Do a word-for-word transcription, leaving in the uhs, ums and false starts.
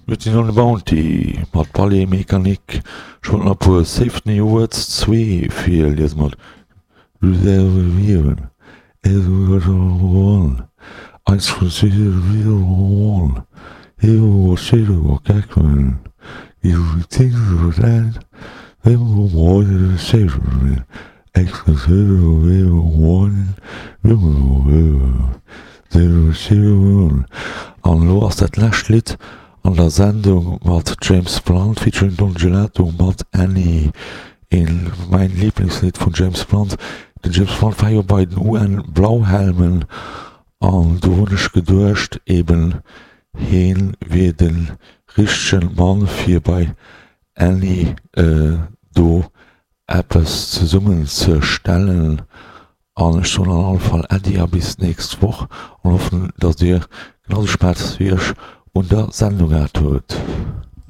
Mutiny on the Bounty mat Ballet Mécanique. Ech wollt nach e puer Save the Words zwee virliesen mat An elo ass dat lescht Lidd an der Sendung mat James Blunt featuring Don Gelato mat Annie, een mäin Lieblingslidd vun James Blunt. Den James Blunt war jo bei den U N Blauhelmen an do hunn ech geduecht eben heen wier den richtegen Mann fir bei Annie do eppes zesummen ze stellen. An ech soen an alle Fall Äddi a bis d'nächst Woch an hoffen, dass dir genau sou Spaass wéi ech un der Sendung gehat hutt.